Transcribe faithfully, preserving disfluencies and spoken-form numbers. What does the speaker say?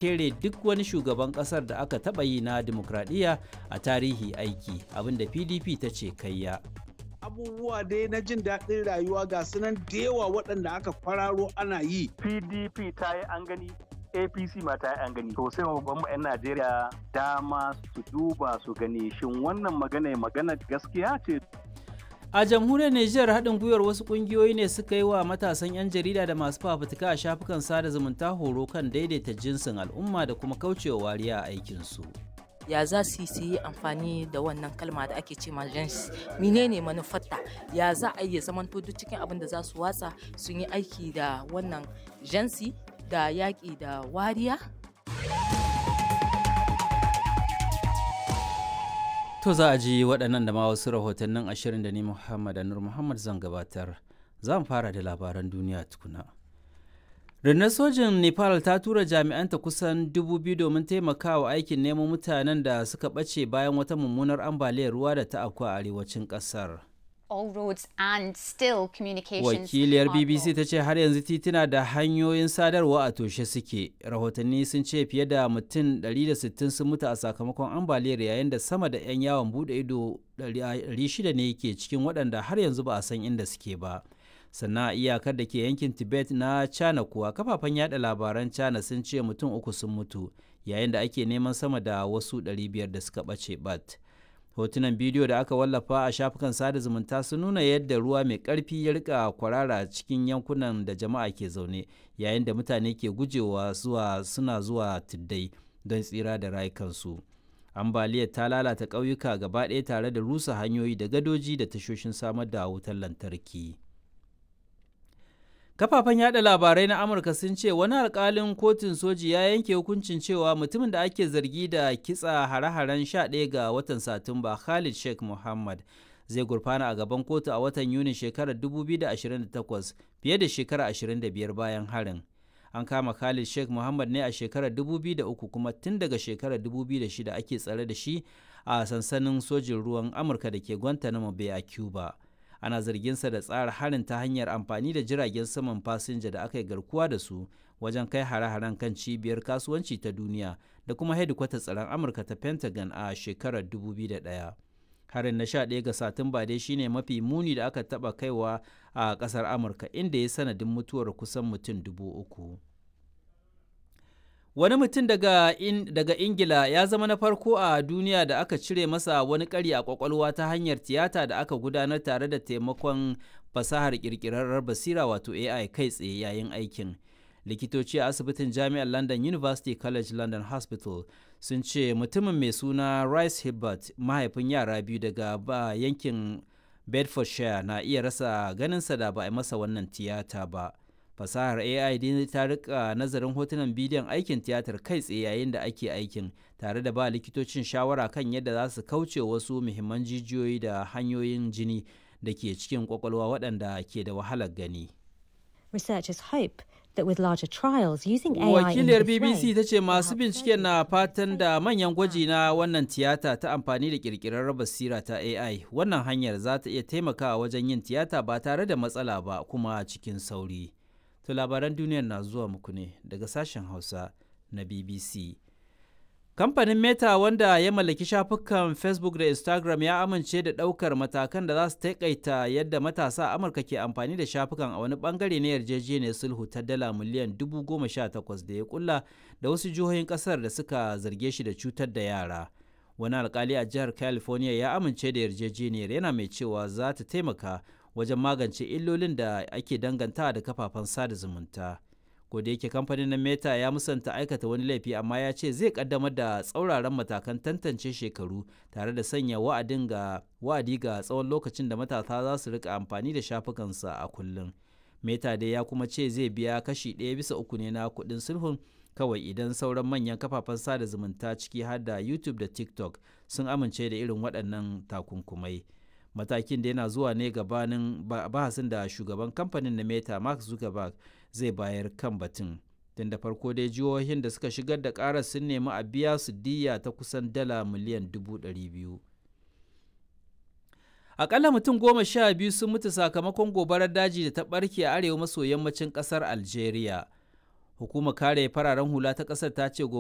Kere duk wani shugaban kasar da aka taɓa yi na dimokuraɗiyya a tarihi aiki abinda P D P ta ce kayya. Abubuwa dai na jin daɗin rayuwa ga sunan da yawa waɗanda aka kwararo ana yi. P D P ta yi an gani, A P C ma ta yi an gani. To sai babban 'yan Najeriya dama su duba su gani, shin wannan magana magana gaskiya ce? A jamhuriyar Nijar, haɗin gwiwar wasu ƙungiyoyi ne suka yi wa matasan 'yan jarida da masu fafutuka a shafukan sada zumunta horo kan daidaita jinsin al'umma da kuma kaucewa wariya a aikinsu. Ya za su yi amfani da wannan kalma da ake ce ma jins, menene manufarta, ya za a iya zamanto duk cikin abin da za su watsa sun yi aiki da wannan jinsi da yaƙi da wariya? To, za a ji waɗannan da ma wasu rahotannin ashirin da ni Muhammad Anur Muhammad zan gabatar. Za mu fara da labaran duniya tukuna. Rundunar sojin Nepal ta tura jami'anta kusan dubu biyu domin taimakawa aikin nemo mutanen da suka ɓace bayan wata mummunar ambaliyar ruwa da ta afku a arewacin ƙasar. All roads and still communications Wakiliyar are B B C ta ce har yanzu tituna da hanyoyin sadarwa a toshe suke. Rahotanni sun ce fiye da mutum ɗari da sittin sun mutu a sakamakon ambaliyar, yayin da sama da 'yan yawon bude ido ɗari shida ne ke cikin waɗanda har yanzu ba a san inda suke ba. Sannan a iyakar da ke yankin Tibet na China kuwa, kafafen yada labaran China sun ce mutum uku sun mutu yayin da ake neman sama da wasu ɗari biyar da suka ɓace bat. Hotunan bidiyo da aka wallafa a shafukan sada zumunta sun nuna yadda ruwa mai ƙarfi ya rika kwarara cikin yankunan da jama'a ke zaune, yayin da mutane ke gujewa zuwa suna zuwa tuddai don tsira da rayukansu. Ambaliyar ta lalata ƙauyuka gaba ɗaya tare da rusa hanyoyi da gadoji da tashoshin samar da wutar lantarki. Kafafen yada labarai na Amurka sun ce wani alkalin kotun soji ya yanke hukuncin cewa mutumin da ake zargi da kitsa hare-haren sha ɗaya ga watan Satumba, Khalid Sheikh Mohammed, zai gurfana a gaban kotu a watan Yuni shekarar dubu biyu da ashirin da takwas, fiye da shekara ashirin da biyar bayan harin. An kama Khalid Sheikh Mohammed ne a shekarar dubu biyu da uku, kuma tun daga shekarar dubu biyu da shida ake tsare da shi a sansanin sojin ruwan Amurka da ke Guantanamo Bay a Cuba. Ana zarginsa da tsara harin ta hanyar amfani da jiragen saman fasinja da aka yi garkuwa da su wajen kai hare-haren kan cibiyar kasuwanci ta duniya da kuma hedikwatar tsaron Amurka ta Pentagon a shekarar dubu biyu da ɗaya. Harin na sha ɗaya ga Satumba dai shine mafi muni da aka taba kaiwa a kasar Amurka, inda ya sanadin mutuwar kusan mutum dubu uku. Wani mutum daga, in, daga Ingila ya zama na farko a duniya da aka cire masa wani ƙari a ƙwaƙwalwa ta hanyar tiyata da aka gudanar tare da taimakon fasahar ƙirƙirarrar basira wato A I kai tsaye yayin aikin. Likitoci a asibitin Jami'ar London University College London Hospital sun ce mutumin mai suna Rice Hibbert, mahaifin yara biyu daga ba yankin Bedfordshire, na iya rasa ganinsa da ba a masa wannan tiyata ba. Fasahar A I dai ta rika nazarin hotunan bidiyon aikin tiyatar kai tsaye yayin da ake aikin, tare da ba likitocin shawara kan yadda za su kauce wasu muhimman jijiyoyi da hanyoyin jini da ke cikin kwakwalwa waɗanda ke da wahalar gani. Researchers hope that with larger trials using A I in Wakiliyar this B B C way ta ce masu binciken na fatan da manyan gwaji na wannan tiyata ta amfani da kirkirar basira ta A I, wannan hanyar za ta iya taimakawa wajen yin tiyata ba tare da matsala ba kuma cikin sauri. To, labaran duniyar na zuwa muku ne daga sashen Hausa na B B C. Kamfanin Meta, wanda ya mallaki shafukan Facebook da Instagram, ya amince da ɗaukar matakan da za su taƙaita yadda matasa a Amurka ke amfani da shafukan a wani bangare na yarjejeniyar sulhu ta dala miliyan dubu goma sha takwas da ya kulla da wasu jihohin ƙasar da suka zarge shi da cutar da yara. Wani alkali a jihar California ya amince da yarjejeniyar, yana mai cewa za ta taimaka wajen magance illolin da ake danganta da kafafen sada zumunta. Ko da yake kamfanin na Meta ya musanta aikata wani laifi, amma ya ce zai kaddamar da tsauraran matakan tantance shekaru tare da sanya wa'adin ga wa'adi ga tsawon lokacin da matasa za su rika amfani da shafukansa a kullum. Meta dai ya kuma ce zai biya kashi ɗaya bisa uku ne na kuɗin sulhun kawai idan sauran manyan kafafen sada zumunta, ciki har da YouTube da TikTok, sun amince da irin waɗannan takunkumai. Matakin da yana zuwa ne gabanin bahasin da shugaban kamfanin na Meta, Mark Zuckerberg, zai bayar kan batun. Tun da farko dai jihohin da suka shigar da karar sun nemi a biya su diyya ta kusan dala miliyan dubu ɗari biyu. Akalla mutum goma sha biyu sun mutu sakamakon gobarar daji da ta barke a arewa maso yammacin kasar Algeria. Hukumar kare fararen hula ta ƙasar ta ce